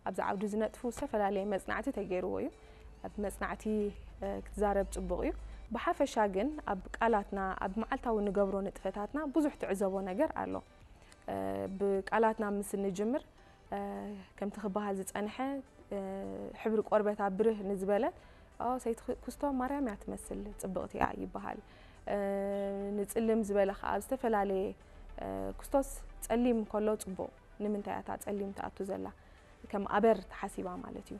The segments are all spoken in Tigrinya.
ኣብዚ ዓውዲ ዝነጥፉ ዝተፈላለየ መጽናዕቲ ተገይርዎ እዩ። ኣብ መጽናዕቲ ክትዛረብ ጽቡቕ እዩ። ብሓፈሻ ግን ኣብ ቃላትና፣ ኣብ መዓልታዊ ንገብሮ ንጥፈታትና ብዙሕ ትዕዘቦ ነገር ኣሎ። ብቃላትና ምስ እንጅምር ከምቲ ክበሃል ዝጸንሐ ሕብሪ ቆርበታ ብርህ ንዝበለት ሰይቲ ኩስቶ ማርያም እያ ትመስል፣ ጽብቕቲ እያ ይበሃል። ንጽልም ዝበለ ከኣ ኣብ ዝተፈላለየ ኩስቶስ ጸሊም ከሎ ጽቡቕ፣ ንምንታይ እያ እታ ጸሊም ትኣቱ ዘላ? ከም ኣበር ተሓሲባ ማለት እዩ።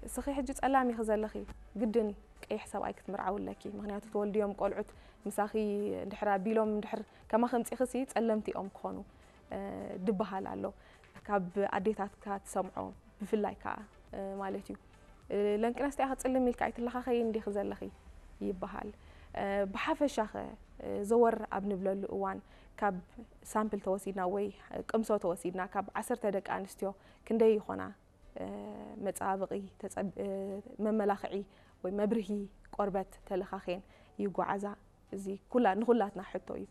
እስኺ ሕጂ ጸላም ኢኺ ዘለኺ፣ ግድን ቀይሕ ሰብኣይ ክትምርዓዊ ኣለኪ። ምኽንያቱ ትወልድዮም ቆልዑት ምሳኺ እንድሕር ኣቢሎም እንድሕር ከማኺ ኣምጺእኺሲ ጸለምቲ እዮም ክኾኑ ድበሃል ኣሎ። ካብ ኣዴታትካ ትሰምዖ ብፍላይ ከኣ ማለት እዩ። ለንቅነስቲ ኢኺ ጽልም ኢልካ ኣይትለኻኸይን ዲኺ ዘለኺ ይበሃል። ብሓፈሻኸ ዘወር ኣብ ንብለሉ እዋን ካብ ሳምፕል ተወሲድና ወይ ቅምሶ ተወሲድና ካብ ዓሰርተ ደቂ ኣንስትዮ ክንደይ ይኾና መጸባበቒ መመላኽዒ ወይ መብርሂ ቆርበት ተለኻኺየን ይጓዓዛ? እዚ ኩላ ንኹላትና ሕቶ እዩ።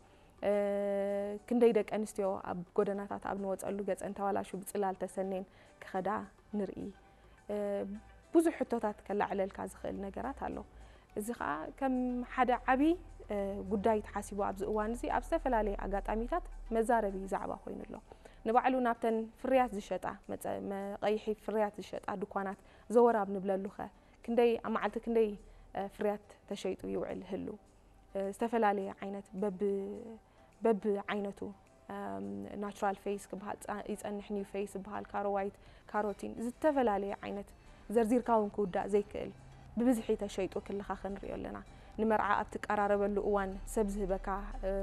ክንደይ ደቂ ኣንስትዮ ኣብ ጎደናታት ኣብ ንወጸሉ ገጸን ተባላሹ ብጽላል ተሰኔን ክኸዳ ንርኢ? ብዙሕ ሕቶታት ከላዕለልካ ዝኽእል ነገራት ኣሎ። እዚ ኸኣ ከም ሓደ ዓቢ ጉዳይ ተሓሲቡ ኣብዚ እዋን እዚ ኣብ ዝተፈላለየ ኣጋጣሚታት መዛረቢ ዛዕባ ኮይኑ ኣሎ። ንባዕሉ ናብተን ፍርያት ዝሸጣ መጸ- መቐይሒ ፍርያት ዝሸጣ ድኳናት ዘወር ኣብ ንብለሉኸ ክንደይ ኣብ መዓልቲ ክንደይ ፍርያት ተሸይጡ ይውዕል ህሉ? ዝተፈላለየ ዓይነት በብ በብ ዓይነቱ ናቹራል ፌስ ክበሃል ይጸንሕ፣ ኒው ፌስ ዝበሃል፣ ካሮ ዋይት፣ ካሮቲን፣ ዝተፈላለየ ዓይነት ዘርዚርካ እውን ክውዳእ ዘይክእል ብብዝሒ ተሸይጡ ክልኻ ክንሪኦ ኣለና። ንመርዓ ኣብ ትቀራረበሉ እዋን ሰብ ዝህበካ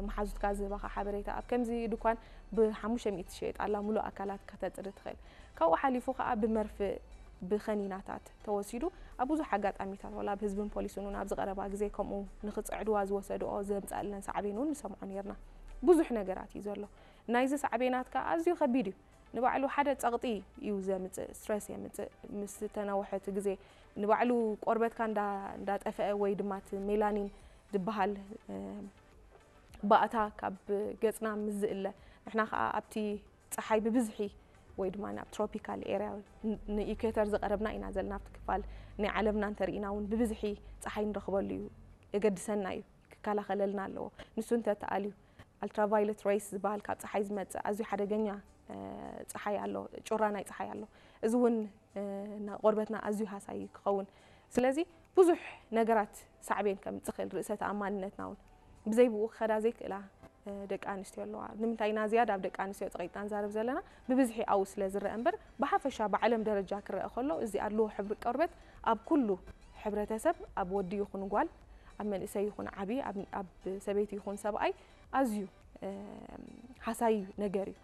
መሓዙትካ ዝህበካ ሓበሬታ ኣብ ከምዚ ድኳን ብሓሙሽተ ሚእቲ ትሸየጥ ኣላ፣ ሙሉእ ኣካላት ከተጽሪ ትኽእል። ካብኡ ሓሊፉ ከዓ ብመርፍእ ብኸኒናታት ተወሲዱ ኣብ ብዙሕ ኣጋጣሚታት ዋላ ኣብ ህዝብን ፖሊስን እውን ኣብዚ ቀረባ ግዜ ከምኡ ንክፅዕድዋ ዝወሰድኦ ዘምፀኣለን ሳዕቤን እውን ንሰምዖ ነርና። ብዙሕ ነገራት እዩ ዘሎ። ናይዚ ሳዕቤናት ከዓ ኣዝዩ ከቢድ እዩ። ንባዕሉ ሓደ ፀቕጢ እዩ ዘምፅእ፣ ስትረስ የምፅእ። ምስ ተነውሐ እቲ ግዜ ንባዕሉ ቆርበትካ እንዳጠፈአ ወይ ድማ እቲ ሜላኒን ዝበሃል ባእታ ካብ ገፅና ምስ ዝእለ ንሕና ከዓ ኣብቲ ፀሓይ ብብዝሒ ወይ ድማ ናብ ትሮፒካል ኤርያ ንኢኩዌተር ዝቐረብና ኢና ዘለና። ኣብቲ ክፋል ናይ ዓለምና እንተርኢና እውን ብብዝሒ ፀሓይ ንረኽበሉ እዩ፣ የገድሰና እዩ፣ ክከላኸለልና ኣለዎ። ንሱ እንተተኣልዩ ኣልትራቫይለት ሬይስ ዝበሃል ካብ ፀሓይ ዝመፅእ ኣዝዩ ሓደገኛ ፀሓይ ኣሎ፣ ጩራ ናይ ፀሓይ ኣሎ። እዚ እውን ንቆርበትና ኣዝዩ ሃሳይ ክኸውን። ስለዚ ብዙሕ ነገራት ሳዕቤን ከምፅእ ይኽእል። ርእሰ ተኣማንነትና እውን ብዘይ ብኡ ክኸዳ ዘይክእላ ደቂ ኣንስትዮ ኣለዋ። ንምንታይ ኢና ዝያዳ ኣብ ደቂ ኣንስትዮ ፀቒጥና ንዛረብ ዘለና? ብብዝሒ ኣብኡ ስለ ዝረአ እምበር ብሓፈሻ ብዓለም ደረጃ ክረአ ከሎ እዚ ኣድልዎ ሕብሪ ቆርበት ኣብ ኩሉ ሕብረተሰብ ኣብ ወዲ ይኹን ጓል ኣብ መንእሰይ ይኹን ዓቢ ኣብ ሰበይቲ ይኹን ሰብኣይ ኣዝዩ ሃሳይ ነገር እዩ።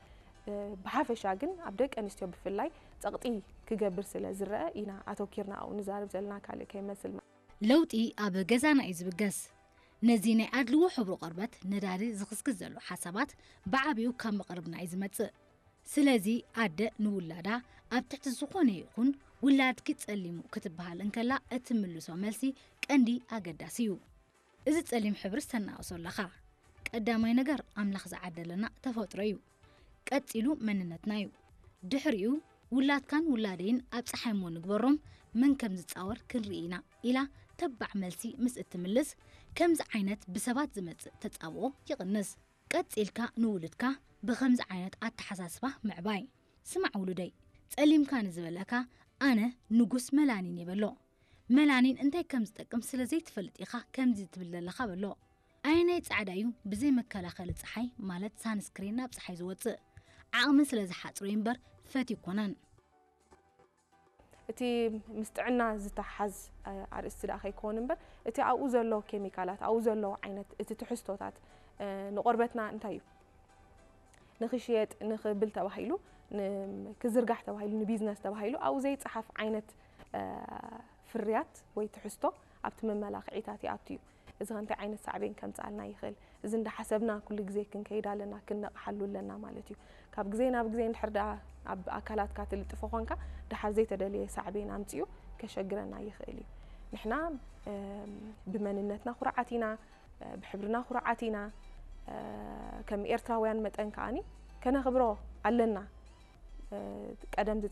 ብሓፈሻ ግን ኣብ ደቂ ኣንስትዮ ብፍላይ ፀቕጢ ክገብር ስለ ዝረአ ኢና ኣተኪርና ኣብኡ ንዛረብ ዘለና፣ ካልእ ከይመስል። ለውጢ ኣብ ገዛና እዩ ዝብገስ። ነዚ ናይ ኣድልዎ ሕብሪ ቆርበት ነዳዲ ዝኽስክስ ዘሎ ሓሳባት ብዓቢኡ ካብ መቕርብና እዩ ዝመጽእ። ስለዚ ኣደ ንውላዳ ኣብ ትሕቲ ዝኾነ ይኹን ውላድኪ ጸሊሙ ክትበሃል እንከላ እትምልሶ መልሲ ቀንዲ ኣገዳሲ እዩ። እዚ ጸሊም ሕብሪ ዝተናእሶ ኣለኻ። ቀዳማይ ነገር ኣምላኽ ዝዓደለና ተፈጥሮ እዩ። ቀጺሉ መንነትና እዩ። ድሕሪኡ ውላድካን ውላደይን ኣብ ጸሓይ እሞ ንግበሮም መን ከም ዝጻወር ክንርኢ ኢና ኢላ ተባዕ መልሲ ምስ እትምልስ ከምዚ ዓይነት ብሰባት ዝመጽእ ተጻብኦ ይቕንስ። ቀጺልካ ንውሉድካ ብኸምዚ ዓይነት ኣተሓሳስባ ምዕባይ። ስማዕ ውሉደይ፣ ጸሊምካ ንዝበለካ ኣነ ንጉስ መላኒን እየ በሎ። መላኒን እንታይ ከም ዝጠቅም ስለ ዘይትፈልጥ ኢኻ ከምዚ ትብል ዘለኻ በሎ። ኣየናይ ጻዕዳ እዩ ብዘይ መከላኸሊ ጸሓይ ማለት ሳንስክሪን ናብ ጸሓይ ዝወጽእ? ዓቕሚ ስለ ዝሓጽሮ እዩ እምበር ፈትዩ ኣይኮነን። እቲ ምስ ጥዕና ዝተሓዝ ኣርእስቲ ደኣ ከይከውን እምበር እቲ ኣብኡ ዘሎ ኬሚካላት ኣብኡ ዘሎ ዓይነት እቲ ትሕዝቶታት ንቆርበትና እንታይ እዩ ንኽሽየጥ ንኽብል ተባሂሉ ክዝርጋሕ ተባሂሉ ንቢዝነስ ተባሂሉ ኣብኡ ዘይፀሓፍ ዓይነት ፍርያት ወይ ትሕዝቶ ኣብቲ መመላኽዒታት ይኣቱ እዩ። እዚ ከ እንታይ ዓይነት ሳዕቤን ከምፅኣልና ይኽእል? እዚ እንዳሓሰብና ኩሉ ግዜ ክንከይድ ኣለና፣ ክንነቕሓሉ ኣለና ማለት እዩ። ካብ ግዜ ናብ ግዜ እንድሕር ደኣ ኣብ ኣካላትካ ትልጥፎ ኾንካ ድሓር ዘይተደለየ ሳዕቤን ኣምፂኡ ከሸግረና ይኽእል እዩ። ንሕና ብመንነትና ኩርዓት ኢና፣ ብሕብርና ኩርዓት ኢና። ከም ኤርትራውያን መጠን ከኣኒ ከነኽብሮ ኣለና። ቀደም